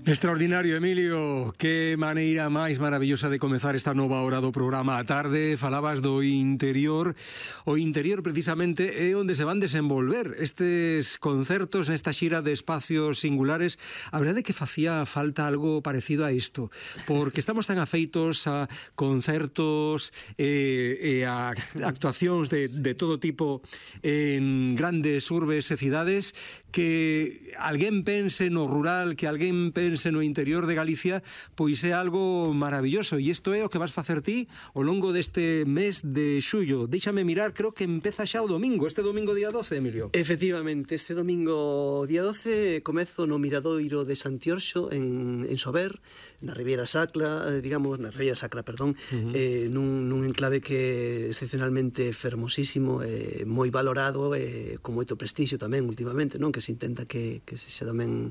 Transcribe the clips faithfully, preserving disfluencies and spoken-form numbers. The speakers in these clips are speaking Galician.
Extraordinario, Emilio, que maneira máis maravillosa de comezar esta nova hora do programa a tarde. Falabas do interior. O interior precisamente é onde se van desenvolver estes concertos nesta xira de espacios singulares. A verdade é que facía falta algo parecido a isto, porque estamos tan afeitos a concertos e, e a actuacións de, de todo tipo en grandes urbes e cidades, que alguén pense no rural, que alguén pense no interior de Galicia, pois é algo maravilloso. E isto é o que vas facer ti ao longo deste mes de xullo. Déixame mirar, creo que empeza xa o domingo, este domingo día doce, Emilio. Efectivamente, este domingo día doce comezo no Miradoiro de Santiorxo en, en Sober, na Ribeira Sacra, digamos, na Ribeira Sacra, perdón, uh -huh. eh, nun, nun enclave que é excepcionalmente fermosísimo, eh, moi valorado, eh, con moito prestixio tamén últimamente, non? Que se intenta que, que se xa tamén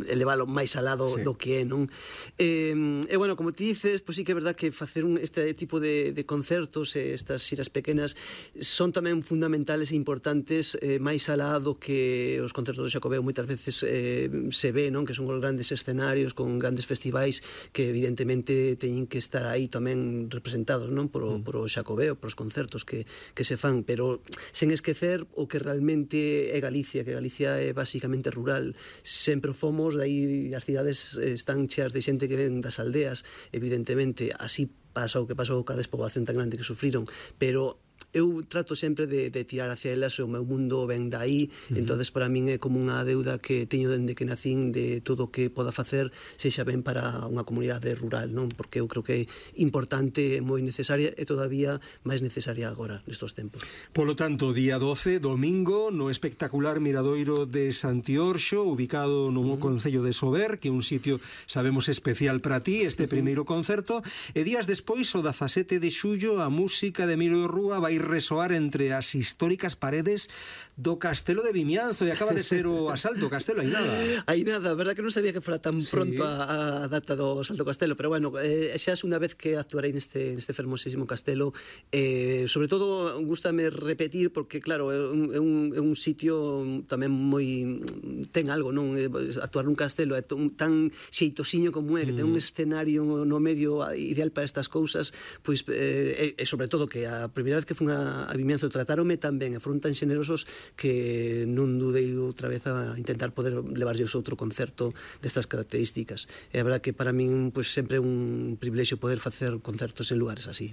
elevalo máis al lado sí. do que é, non? E, e bueno, como ti dices, pois sí que é verdad que facer un, este tipo de, de concertos e estas xiras pequenas son tamén fundamentales e importantes, eh, máis alá do que os concertos do Xacobeo moitas veces eh, se ve, non? Que son os grandes escenarios con grandes festivais que evidentemente teñen que estar aí tamén representados, non? Por, mm. por o Xacobeo, por os concertos que, que se fan, pero sen esquecer o que realmente é Galicia, que Galicia é basicamente rural. Sempre fomos, dai as cidades están cheas de xente que ven das aldeas, evidentemente, así pasa o que pasou ca despoboación tan grande que sufriron, pero eu trato sempre de, de tirar hacia elas, o meu mundo ven dai, uh -huh. entonces para min é como unha deuda que teño dende que nacín de todo o que poda facer, sexa ben para unha comunidade rural, non? Porque eu creo que é importante, moi necesaria e todavía máis necesaria agora, nestos tempos. Polo tanto, día doce, domingo, no espectacular Miradoiro de Santiorxo, ubicado no uh -huh. concello de Sober, que é un sitio, sabemos, especial para ti, este uh -huh. primeiro concerto, e días despois, o dezasete de xullo, a música de Emilio Rúa vai resoar entre as históricas paredes do Castelo de Vimianzo, e acaba de ser o asalto ao Castelo, hai nada. Hai nada, verdad que non sabía que fora tan sí. pronto a, a data do asalto ao Castelo, pero bueno, eh, xa é unha vez que actuarei neste, neste fermosísimo castelo, eh, sobre todo gústame repetir, porque claro, é un, é un, é un sitio tamén moi, ten algo, non? Actuar nun castelo é tan xeitosiño como é, que mm. ten un escenario no medio ideal para estas cousas, pois, eh, e, e sobre todo que a primeira vez que fun a, a Vimianzo tratáronme tan ben e foron tan xenerosos que non dudei outra vez a intentar poder levarlles outro concerto destas características. É a verdad que para min pois, sempre é un privilexio poder facer concertos en lugares así.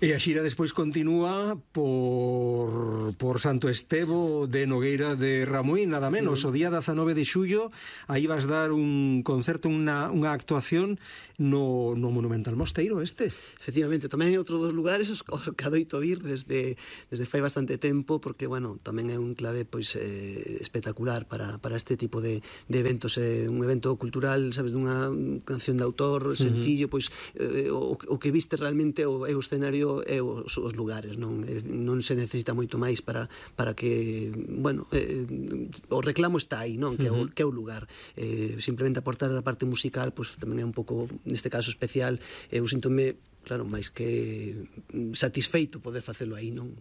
E a xira despois continúa por, por Santo Estevo de Nogueira de Ramuín, nada menos. O día dezanove de xullo aí vas dar un concerto, unha, unha actuación no, no Monumental Mosteiro este. Efectivamente, tamén é outro dos lugares os que adoito vir desde, desde fai bastante tempo, porque, bueno, tamén é un clave pois eh, espectacular para, para este tipo de, de eventos. É un evento cultural, sabes, dunha canción de autor sencillo, uh -huh. pois eh, o, o que viste realmente o, é o escenario e os, os lugares, non eh, non se necesita moito máis para, para que, bueno, eh, o reclamo está aí, non? Que é o, que é o lugar. Eh, simplemente aportar a parte musical, pois tamén é un pouco, neste caso especial, eu síntome, claro, máis que satisfeito poder facelo aí, non?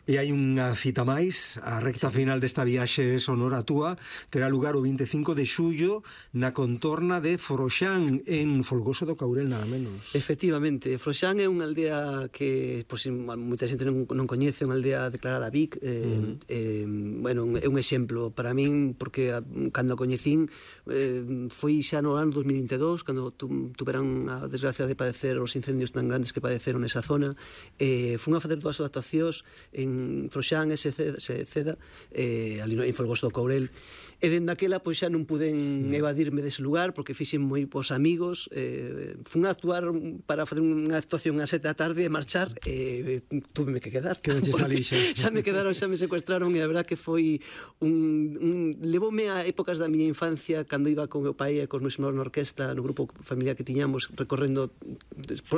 E hai unha cita máis, a recta sí. final desta viaxe sonora túa terá lugar o vinte e cinco de xullo na contorna de Froxán, en Folgoso do Caurel, nada menos. Efectivamente, Froxán é unha aldea que pois, moita xente non, non coñece, unha aldea declarada V I C, eh, uh -huh. eh, bueno, é un exemplo para min, porque a, cando a coñecín eh, foi xa no ano dos mil vinte e dous, cando tu, tuveran a desgracia de padecer os incendios tan grandes que padeceron nesa zona, eh, fun a facer dúas adaptacións en Froxán e Ceda, eh, ali en Folgoso do Caurel, e dende aquela pois xa non puden evadirme dese lugar, porque fixen moi pos amigos, eh, fun a actuar para facer unha actuación a sete da tarde e marchar, e eh, túveme que quedar, que non che salí xa. xa me quedaron, xa me secuestraron, e a verdad que foi un, un levoume a épocas da miña infancia, cando iba con meu pai e cos meus irmãos na orquesta, no grupo familiar que tiñamos, recorrendo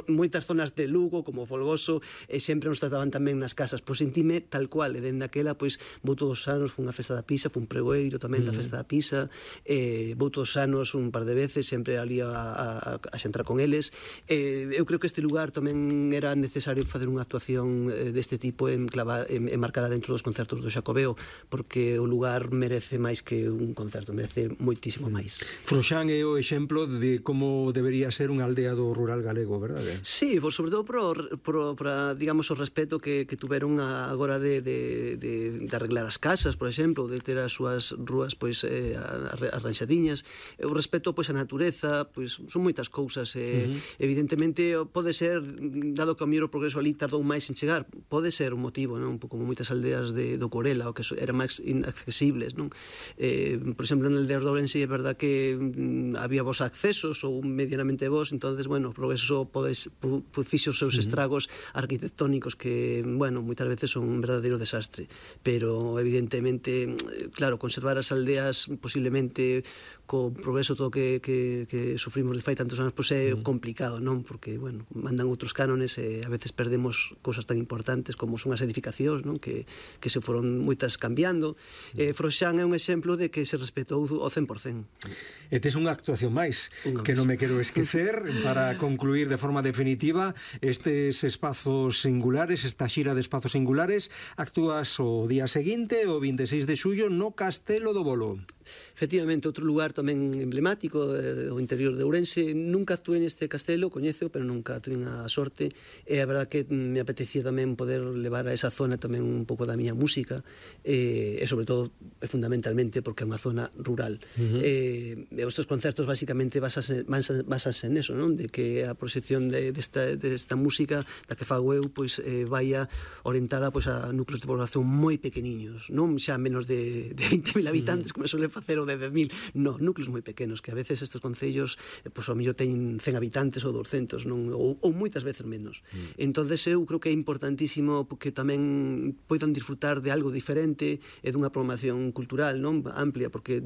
moitas zonas de Lugo, como Folgoso, e sempre nos trataban tamén nas casas festas, pois sentime tal cual, e dende aquela, pois, vou todos os anos, fun a festa da pizza, fun pregoeiro tamén da festa da pizza, eh, vou todos os anos un par de veces, sempre ali a, a, a xentrar con eles. Eh, eu creo que este lugar tamén era necesario facer unha actuación eh, deste tipo en, clavar, en, en marcada dentro dos concertos do Xacobeo, porque o lugar merece máis que un concerto, merece moitísimo máis. Froxán é o exemplo de como debería ser unha aldea do rural galego, verdade? Sí, por, sobre todo por, por, por digamos, o respeto que, que tuveron a, agora de, de, de, de arreglar as casas, por exemplo, de ter as súas rúas pois, eh, arranxadiñas, o respeto pois, a natureza, pois, son moitas cousas. Eh, uh-huh. Evidentemente, pode ser, dado que o mellor o progreso ali tardou máis en chegar, pode ser un motivo, non? Un pouco como moitas aldeas de, do Corela, o que eran máis inaccesibles, non? Eh, por exemplo, en aldeas de Ourense é verdad que mm, había vos accesos ou medianamente vos, entonces, bueno, o progreso podes, fixo os seus estragos arquitectónicos que, bueno, moitas veces son un verdadeiro desastre, pero evidentemente, claro, conservar as aldeas posiblemente co progreso todo que, que, que sufrimos de fai tantos anos, pois é complicado, non? Porque, bueno, mandan outros cánones e a veces perdemos cousas tan importantes como son as edificacións, non? Que, que se foron moitas cambiando. Eh, Froxán é un exemplo de que se respetou ao cen por cen. E tes unha actuación máis, Unha que máis. non me quero esquecer, para concluir de forma definitiva estes espazos singulares, esta xira de espazos singulares. Actúas o día seguinte, o vinte e seis de xullo, no Castelo do Bolo. Efectivamente, outro lugar tamén emblemático do interior de Ourense. Nunca actuei neste castelo, coñezo, pero nunca tuve a sorte, e a verdad que me apetecía tamén poder levar a esa zona tamén un pouco da miña música, e, e sobre todo, e fundamentalmente, porque é unha zona rural. Uh-huh. E, e estes concertos basicamente basase, basase en eso, non? De que a proxección de, desta, desta música da que fago eu, pois, eh, vaya orientada pois, a núcleos de población moi pequeniños, non xa menos de, de veinte mil habitantes, uh-huh. como suele facer o de dez mil, no, núcleos moi pequenos, que a veces estes concellos, eh, pois, ao mellor teñen cen habitantes ou doscientos, non? Ou, ou moitas veces menos. Mm. Entonces eu creo que é importantísimo que tamén poidan disfrutar de algo diferente e dunha programación cultural, non? Amplia, porque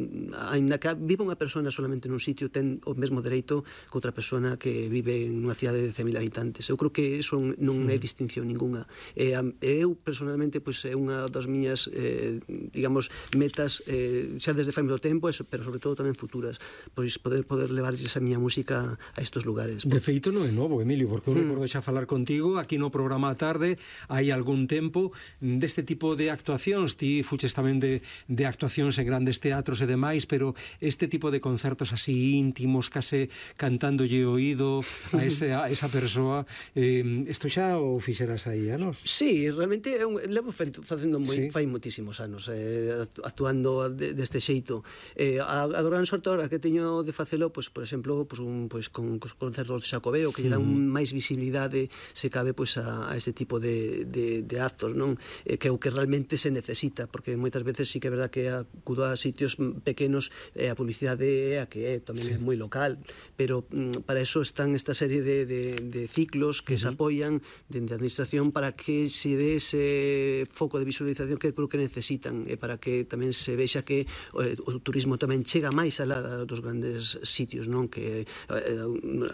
ainda que viva unha persona solamente nun sitio, ten o mesmo dereito que outra persona que vive en unha cidade de cen mil habitantes. Eu creo que iso non é distinción ninguna. E eu, personalmente, pois, é unha das miñas, eh, digamos, metas, eh, xa desde fai moito tempo, pero sobre todo tamén futuras, pois poder poder levarlles a miña música a estos lugares. De feito non é novo, Emilio, porque eu recordo xa falar contigo aquí no programa a tarde hai algún tempo deste tipo de actuacións. Ti fuches tamén de, de actuacións en grandes teatros e demais, pero este tipo de concertos así íntimos, case cantándolle o oído a, ese, a esa persoa, eh, isto xa o fixeras aí, anos? Sí, realmente é un, levo facendo moi, sí. fai moitísimos anos, eh, actuando de, deste xeito. Eh, a, a gran sorte ahora que teño de facelo, pois, por exemplo, pois, un, pois, con os concertos de Xacobeo, que lle dan un, máis visibilidade, se cabe, pois, a, a ese tipo de, de, de actos, non? Eh, que é o que realmente se necesita, porque moitas veces sí que é verdad que acudo a sitios pequenos, eh, a publicidade é a que é, tamén sí. é moi local, pero mm, para eso están esta serie de, de, de ciclos que uh-huh. se apoian dende a administración para que se dé ese foco de visualización que creo que necesitan, e para que tamén se vexa que eh, o turismo tamén chega máis alá dos grandes sitios, non? Que eh,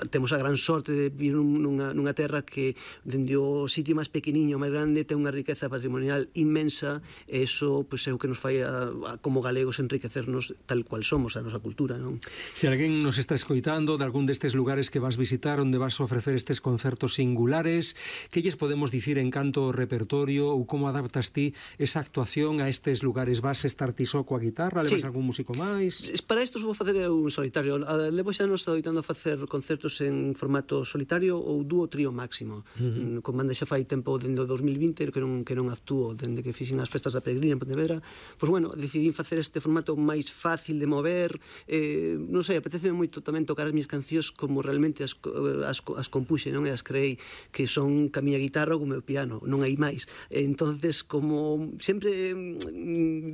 temos a gran sorte de vivir nunha, nunha terra que dende o sitio máis pequeniño, máis grande, ten unha riqueza patrimonial inmensa, e iso pois, é o que nos fai a, a, como galegos enriquecernos tal cual somos, a nosa cultura, non? Se alguén nos está escoitando de algún destes lugares que vas visitar, onde vas ofrecer estes concertos singulares, que lles podemos dicir en canto ao repertorio, ou como adaptas ti esa actuación a estes lugares? Vas estar ti só coa guitarra? Levas sí. algún músico máis? Para isto vou facer un solitario. Levo xa nos adoitando a facer concertos en formato solitario ou dúo trío máximo. Uh-huh. Con banda xa fai tempo dende o dos mil vinte que non, que non actúo, dende que fixen as festas da Peregrina en Pontevedra. Pois bueno, decidí facer este formato máis fácil de mover. Eh, non sei, apeteceme moito tamén tocar as minhas cancións como realmente as, as, as compuxe, non? E as creei, que son ca miña guitarra ou co meu piano, non hai máis. Entonces, como sempre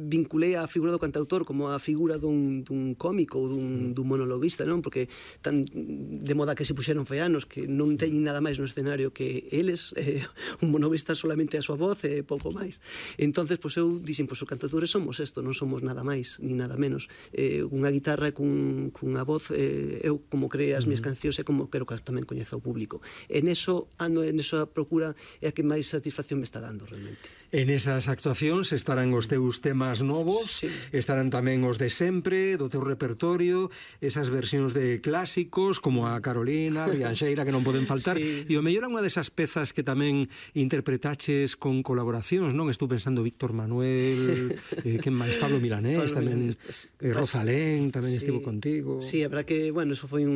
vinculei a figura do cantautor como como a figura dun, dun cómico ou dun, dun monologuista, non? Porque tan de moda que se puxeron feanos que non teñen nada máis no escenario que eles, eh, un monologuista solamente a súa voz e pouco máis. Entonces, pois eu dixen, pois os cantautores somos isto, non somos nada máis, ni nada menos. Eh, unha guitarra cun, cunha voz, eh, eu como creo as minhas cancións e como quero que as tamén coñeza o público. En eso, ando en esa procura é a que máis satisfacción me está dando realmente. En esas actuacións estarán os teus temas novos, sí. Estarán tamén os de sempre, do teu repertorio, esas versións de clásicos como a Carolina, a Rianxeira, que non poden faltar, sí. E o mellor é unha desas pezas que tamén interpretaches con colaboracións, non? Estou pensando Víctor Manuel, eh, que máis, Pablo Milanés, Pablo tamén, Milanés, eh, Rosalén, tamén sí. Estivo contigo. Sí, a verdad que, bueno, eso foi un,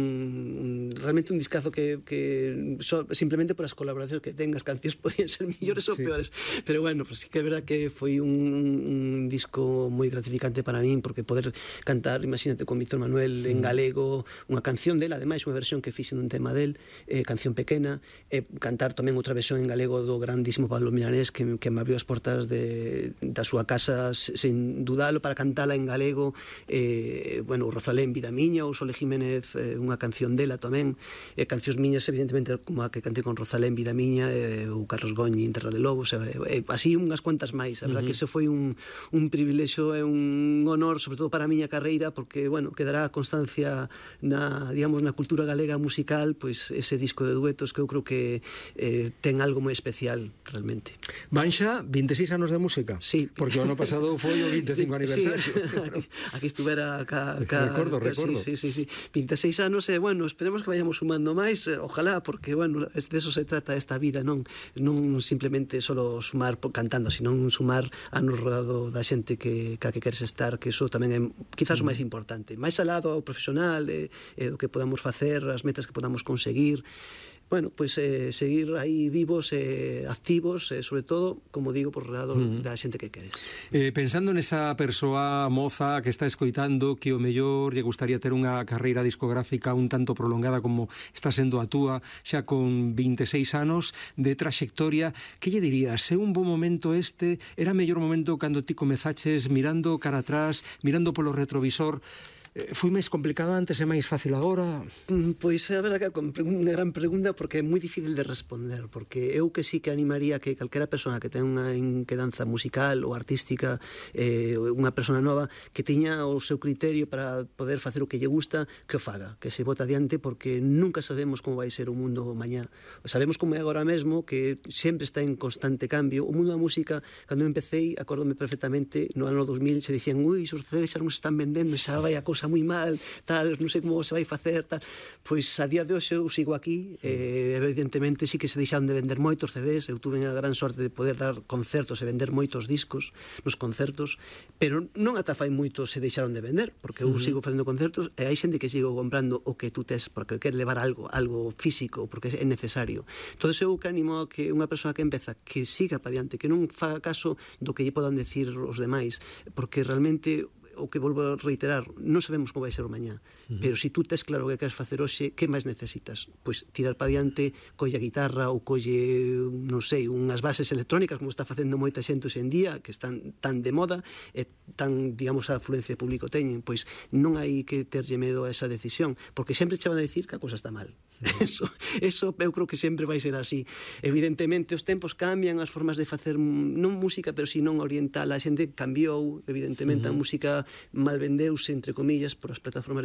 un realmente un discazo que, que so, simplemente por as colaboracións que ten, as cancións podían ser mellores sí. ou peores, pero bueno, pues sí que é verdad que foi un, un disco moi gratificante para min, porque poder cantar, imagínate, con Víctor Manuel en galego, unha canción dela, ademais unha versión que fixen un tema del, eh, Canción Pequena, e eh, cantar tamén outra versión en galego do grandísimo Pablo Milanés, que, que me abriu as portas de, da súa casa sen dudalo para cantala en galego, eh, bueno, Rosalén, Vida Miña, ou Sole Jiménez, eh, unha canción dela tamén, eh, cancións miñas, evidentemente, como a que cantei con Rosalén, Vida Miña, eh, ou Carlos Goñi, Terra de Lobos, eh, eh, así unhas cuantas máis. A verdad uh -huh. que ese foi un, un privilexio e un honor, sobre todo para a miña carreira, porque, bueno, quedará constancia na, digamos, na cultura galega musical, pois ese disco de duetos que eu creo que eh, ten algo moi especial, realmente. Vanxa, vinte e seis anos de música? Sí. Porque o ano pasado foi o vinte e cinco aniversario. Sí. aquí, aquí estuvera ca, ca, recordo, recordo. Sí, sí, sí, sí. vinte e seis anos e, bueno, esperemos que vayamos sumando máis, ojalá, porque, bueno, de eso se trata esta vida, non non simplemente solo sumar cantando, sino sumar anos rodado da xente que, que a que queres estar, que iso tamén é quizás o máis importante, máis alado ao profesional e, e do que podamos facer, as metas que podamos conseguir. Bueno, pois eh, seguir aí vivos e eh, activos, e eh, sobre todo, como digo, por redado mm. da xente que queres. Eh, pensando nesa persoa moza que está escoitando, que o mellor lle gustaría ter unha carreira discográfica un tanto prolongada como está sendo a túa, xa con vinte e seis anos de traxectoria, que lle dirías? É un bo momento este? Era mellor momento cando ti comezaches mirando cara atrás, mirando polo retrovisor? Foi máis complicado antes e máis fácil agora? Pois é a verdade que é unha gran pregunta, porque é moi difícil de responder, porque eu que sí que animaría que calquera persona que ten unha inquedanza musical ou artística, eh, unha persona nova que tiña o seu criterio para poder facer o que lle gusta, que o faga, que se bota adiante, porque nunca sabemos como vai ser o mundo mañá. Sabemos como é agora mesmo, que sempre está en constante cambio. O mundo da música, cando eu empecé, acórdome perfectamente, no ano dos mil se dicían, ui, os C Ds xa non se están vendendo, xa vai a cousa moi mal, tal, non sei como se vai facer, tal. Pois a día de hoxe eu sigo aquí, eh, evidentemente sí que se deixaron de vender moitos C Ds, eu tuve a gran sorte de poder dar concertos e vender moitos discos nos concertos, pero non ata fai moito se deixaron de vender, porque eu uh -huh. sigo facendo concertos e hai xente que sigo comprando o que tú tes, porque quer levar algo, algo físico, porque é necesario. Entón eu que animo a que unha persoa que empeza, que siga para diante, que non faga caso do que lle podan decir os demais, porque realmente o que volvo a reiterar, non sabemos como vai ser o mañá, uh -huh. pero se si tú tes claro o que queres facer hoxe, que máis necesitas? Pois tirar para diante, colle a guitarra ou colle, non sei, unhas bases electrónicas, como está facendo moita xente hoxe en día, que están tan de moda e tan, digamos, a afluencia de público teñen. Pois non hai que terlle medo a esa decisión, porque sempre che van a dicir que a cousa está mal. Uh -huh. Eso, eso eu creo que sempre vai ser así. Evidentemente os tempos cambian, as formas de facer non música, pero si non oriental, a xente cambiou, evidentemente uh -huh. a música mal vendeuse, entre comillas, por as plataformas